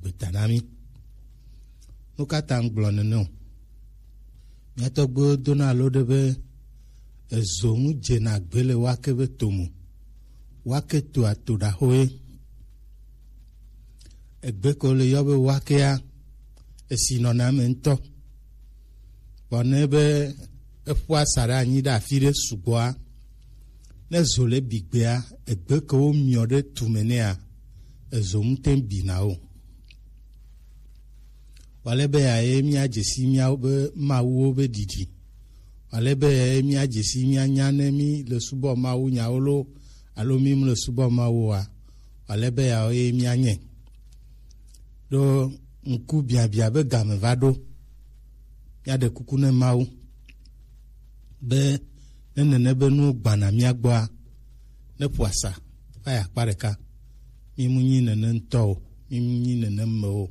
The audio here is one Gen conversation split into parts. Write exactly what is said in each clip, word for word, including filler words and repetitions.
gbeta na mí. Nu ka ta ŋgblɔ nene o? Mía tɔgbuiwo dona alo ɖe be ezo ŋu dzena gbe le wake be to me. Wake toa to ɖaxo ye. Egbe ko le yɔ be wakea, esi nɔna eme ŋutɔ. Vɔ ne be eƒua sa ɖe anyi ɖe afi ɖe sugbɔa, ne zo le bi gbea, egbe ke wo miɔ ɖe tume nɛa, ezo ŋute bina o. Wale be ya ye mía dzesi míawo be mawuwo be ɖiɖi. Wale be ya ye mía dzesi mía nya ne mí le subɔ mawu nyawo lo, alo mí mu le subɔ mawu wa. Wale be ya ye mía nye. Ɖo ŋku biabia be game va ɖo. Míaɖe kuku ne Mawu be ne nene be nuwo gbana mía gbɔa, ne ƒo asa va yi akpa ɖeka. Mí mu nyi nene ŋutɔ o, mí mu nyi nene me o.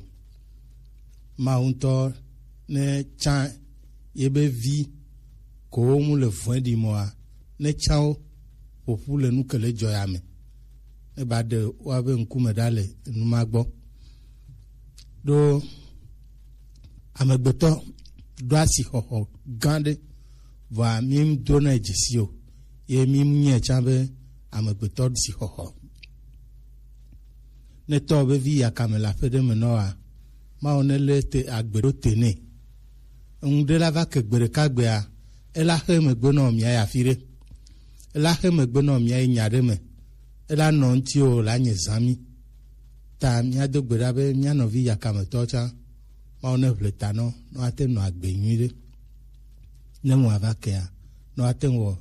Mawu ŋutɔ ne tsã yebe vi kowo mu le vɔ̃e ɖi mɔa, ne tsã wo ƒoƒu le nu ke le dzɔ ya me. Ne ba ɖe woabe ŋkume ɖa le enu ma gbɔ. Ɖo amegbetɔ ɖo asixɔxɔ gã ɖe, vɔa mí do na dzesi o, ye mí nye tsã be amegbetɔ ɖo asixɔxɔ. Ne tɔ be vi yakame le aƒe ɖe me nɔ wa, Mawu ne le te agbe ɖo te nɛ. Eŋu ɖe la va ke gbe ɖeka gbea, ela xe megbe nɔ mía ya fi ɖe. Ela xe megbe nɔ mía yi nya ɖe me. Ela nɔ ŋuti o, la nye zã mí. Ta mía do gbe ɖa be mía nɔvi yakametɔ tsã, Mawu ne ʋle ta nɔ, nɔ ate nɔ agbe nyui ɖe. Ne ŋu ava kea, nɔ ate wɔ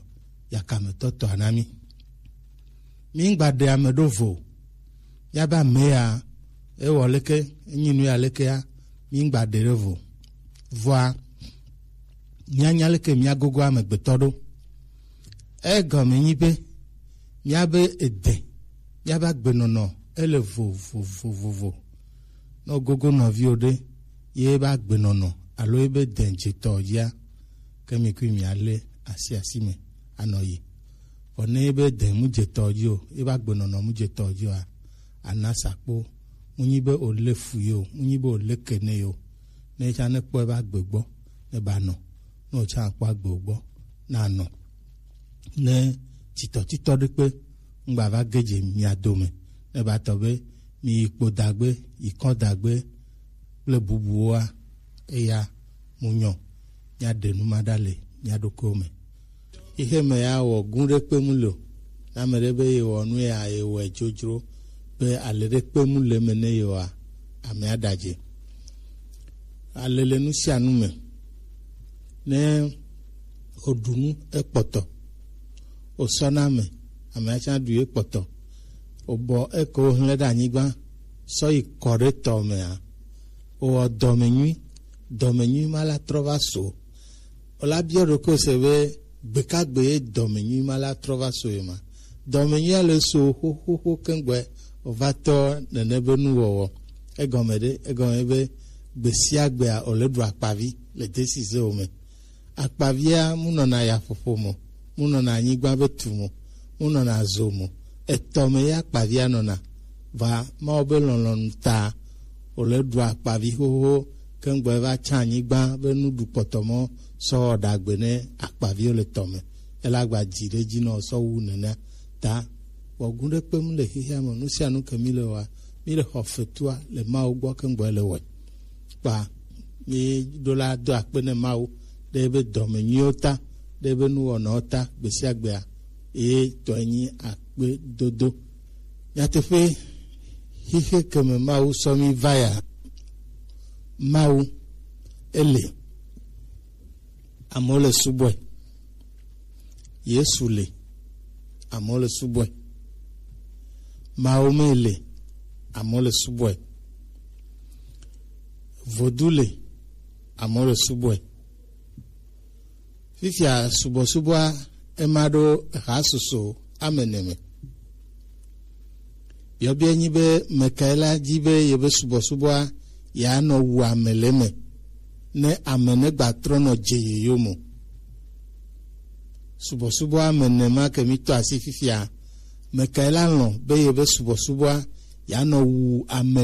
yakametɔ tɔ na mí. Mí ŋgba ɖe ame ɖo vo. Míabe ame ya, ewɔ leke, enyi nu ya lekea, mí ŋgba ɖe ɖe vo. Vɔa, míanya leke míagogo amegbetɔ ɖo. Egɔme nyi be, míabe ede, míabe agbenɔnɔ, ele vovovovovo. Ne wogogo nɔviwo ɖe, ye ebe agbenɔnɔ, alo ebe dɛn dzetɔ dzia, ke mi kui mialé asi asi me anɔ yi. Vɔ ne ebe dɛn mu dzetɔ dzi o, ebe agbenɔnɔ mu dzetɔ dzi oa, ana sakpo, mu nyi be olé fu ye o, mu nyi be olé ke ne ye o. Ne tsã ne kpɔ ebe agbe gbɔ, ne ba nɔ, ne o tsã akpɔ agbe gbɔ, na nɔ. Ne titɔtitɔ ɖe kpe ŋgba va ge dze mia dome, ne ba tɔ be mi yi kpo dagbe, yi kɔ dagbe kple bubuwoa, eya mu nyɔ, mia ɖe nu ma ɖa le mia ɖokuiwo me. Xixe me ya wɔ gu ɖe kpe mu le o. Ne ame ɖe be ye wɔ nu ya ye wɔe dzodzro be ale ɖe kpe mu le me ne ye wɔa, amea ɖadze. Ale le nu sia nu me. Ne oɖu nu ekpɔtɔ, osɔ na ame, amea tsã ɖu ye kpɔtɔ. Obɔ eke wohlẽ ɖe anyigba sɔ yi kɔ ɖe tɔ mea, owɔ dɔmenyui, dɔmenyui ma la trɔ va so. Ola biɔ ɖokui se be gbekagbe ye dɔmenyui ma la trɔ va so ye ma. Dɔmenyui ale so xoxoxo keŋgbɛ ova tɔ nene be nuwɔwɔ. Egɔme ɖe, egɔme be gbesiagbea ole ɖu akpavi le desi ze wo me. Akpavia mu nɔna yaƒoƒo mo, mu nɔna anyigba be tu mo, mu nɔna zo mo. Etɔ me ya akpavia nɔna. Va Mawu be lɔlɔnu ta, ole ɖu akpavi xoxo keŋgbɛ va tsã anyigba be nuɖu kpɔtɔ mɔ sɔ wɔ ɖagbe ne akpaviwo le tɔ me. Ela gba dzi ɖe dzi nɔ sɔ wu nenea. Ta wɔ gu ɖe kpem le xexea me, nu sia nu ke mi le wɔa, mi le xɔ fetua le Mawu gbɔ keŋgbɛ le wɔe. Kpa mi ɖo la do akpe ne Mawu ɖe ebe dɔme nyuiwo ta, ɖe ebe nuwɔnawo ta gbesiagbea, eye tɔe nyi akpedodo. Nyateƒe, xixe ke me Mawu sɔ mi va ya, Mawu ele, amewo le subɔe. Yesu le, amewo le subɔe. Mawu me le, amewo le subɔe. Vodu le, amewo le subɔe. Fifia subɔsubɔa ema ɖo hasusu ame ene me. Biɔbiɔ nyi be mekae la dzi be yebe subɔsubɔa yeanɔ wu ame le eme ne ame ne gba trɔ nɔ dze yeyom o. Subɔsubɔa ame ene ma ke mi tɔ asi fifia, mekae la lɔ̃ be yebe subɔsubɔa yeanɔ wu ame